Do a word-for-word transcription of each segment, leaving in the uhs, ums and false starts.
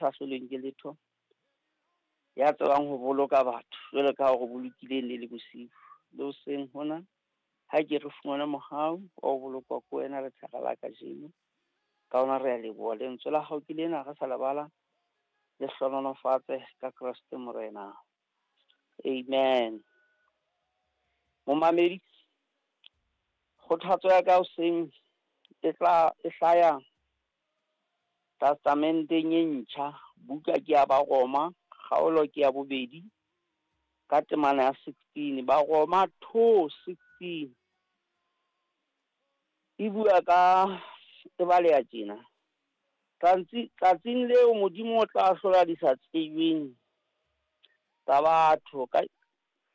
sa hlolweng ke letho, ya tsebang ho boloka batho jwalo ka ha o re bolokile ne le bosiu. Le hoseng hona, ha ke re fumane mohau wa ho bolokwa ke wena lethara la kajeno. Ka hona re a leboha. Lentswe la hao ke lena re sa lebala, le hlohonolofatse ka Kreste Morena. Amen. Momamedi, kgothatso ya ka hoseng e tla e hlaya Testamenteng e ntjha, buka ke ya Baroma, kgaolo ke ya bobedi, ka temana ya sixteen. Baroma two sixteen. E bua ka, e baleha tjena. Tsatsi, tsatsing leo Modimo o tla ahlola di sa tsejweng tsa batho ka,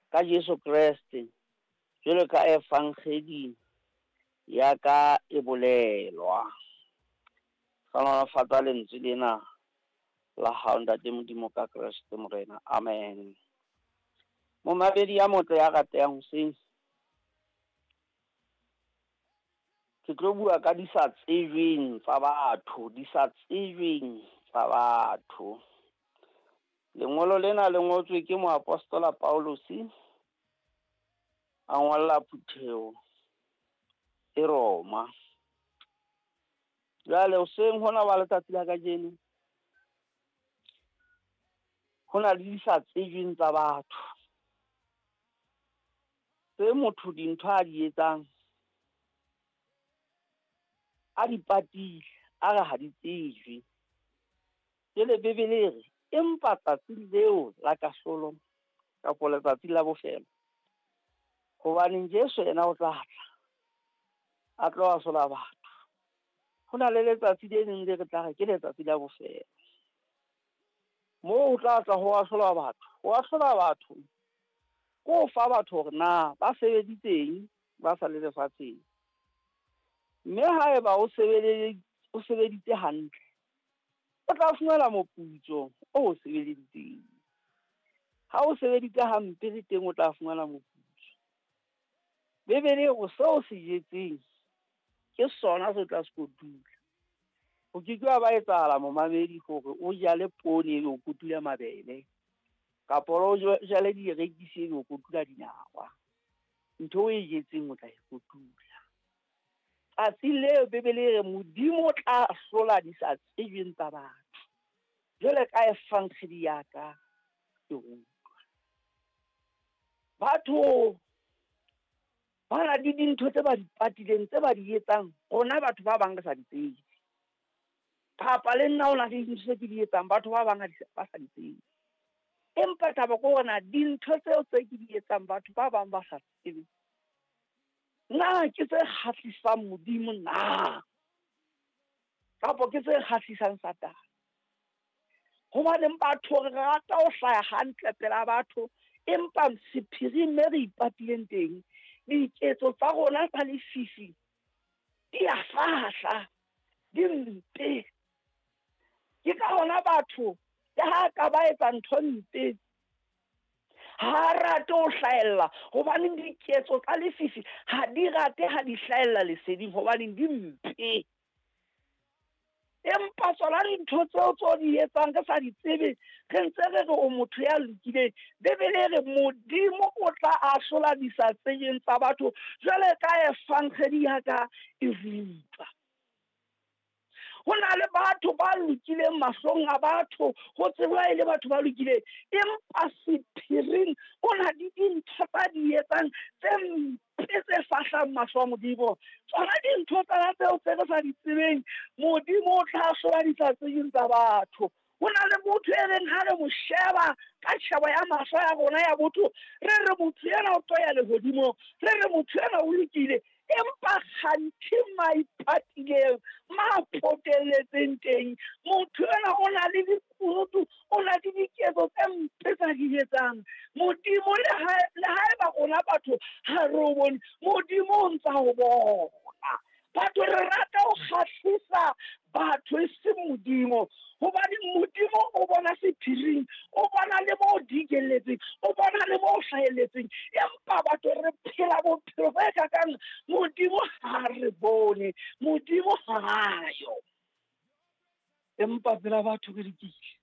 ka Jesu Kreste, jwalo ka evangeli ya ka e bolelwa. Hlohonolofatsa lentswe lena la hao Ntate Modimo ka Kreste Morena. Amen. Momamedi ya motle ya ratehang hoseng, ke tlo bua ka di sa tsejweng tsa batho, di sa tsejweng tsa batho. Lengolo lena le ngotswe ke moapostola Paulus, a ngolla phutheho e Roma. Jwale hoseng hona wa letsatsi la kajeno, ho na le di sa tsejweng tsa batho, tse motho dintho a di etsang a di patile, a re ha di tsejwe. Jwale Bibele e re, empa tsatsi leo la kahlolo kapa letsatsi la bofelo, hobaneng Jesu yena o tla tla a tlo ahlola batho. Ho na le letsatsi le leng le re tla re ke letsatsi la bofelo, moo ho tla tla ho ahlola batho. Ho ahlola batho ke ho fa batho hore na ba sebeditseng ba sa le lefatsheng, mme haeba o sebeleditse, o sebeditse hantle, o tla fumana moputso o o sebeleditseng. Ha o sebeditse hampe le teng o tla fumana moputso. Bibele e re seo o se jetseng ke sona se tla se kotula. Ho ke ke wa ba etsahala momamedi hore o jale poone ebe o kotula mabele, kapa o jale dierekisi ebe o kotula dinawa. Ntho o e jetseng o tla e kotula. Tsatsi leo Bibele e re Modimo o tla ahlola di sa tsejweng tsa batho, jwale ka evangeli ya ka e rutwa. Batho ba na le dintho tse ba di patileng, tse ba di etsang, rona batho ba bang re sa di tsebe. Kapa le nna ho na le dintho tse ke di etsang, batho ba bang ba sa di tsebe. Empa taba ke hore na dintho tseo tse ke di etsang batho ba bang ba sa tsebe, na ke tse kgahlisang Modimo na, kapa ke tse kgahlisang Satane? Hobaneng batho re rata ho hlaya hantle pela batho, empa sephiring me re ipatileng teng, diketso tsa rona tsa lefifi di a fahla, di mpe. Ke ka hona batho le ha ka ba etsa ntho mpe, ha rate ho hlahella, hobane diketso tsa lefifi ha di rate ha di hlahella leseding, hobane di mpe. Empa tsona dintho tseo tseo di etsang re sa di tsebe, re ntse re re o motho ya lokileng. Bibele e re Modimo o tla ahlola di sa tsejweng tsa batho, jwale ka evangeli ya ka e rutwa. Ho na le batho ba lokileng mahlong a batho, ho tsejwa e le batho ba lokileng, empa sephiring o na le dintho tsa di etsang tse mpe tse fahlang mahlo a Modimo. Tsona dintho tsena tseo tse re sa di tsebeng, Modimo o tla ahlola di sa tsejweng tsa batho. Ho na le motho e reng ha re mo sheba ka tjhebo ya mahlo ya rona ya botho, re re motho ena o tlo ya lehodimong, re re motho ena o lokile, empa kganthe maipatileng, ma potelletseng teng, motho ena o na le dikunutu, o na le diketso tse mpe tsa di etsang. Modimo le ha, le haeba rona batho ha re o bone, Modimo o ntsa o bona. Batho re rata ho kgahlisa batho e se Modimo, hobane Modimo o bona sephiring, o bona le mo dikelletseng, o bona le mo hlahelletseng. Empa batho re phela bophelo bo kakang, Modimo ha re bone, Modimo ha yo. Empa pela batho re lokile.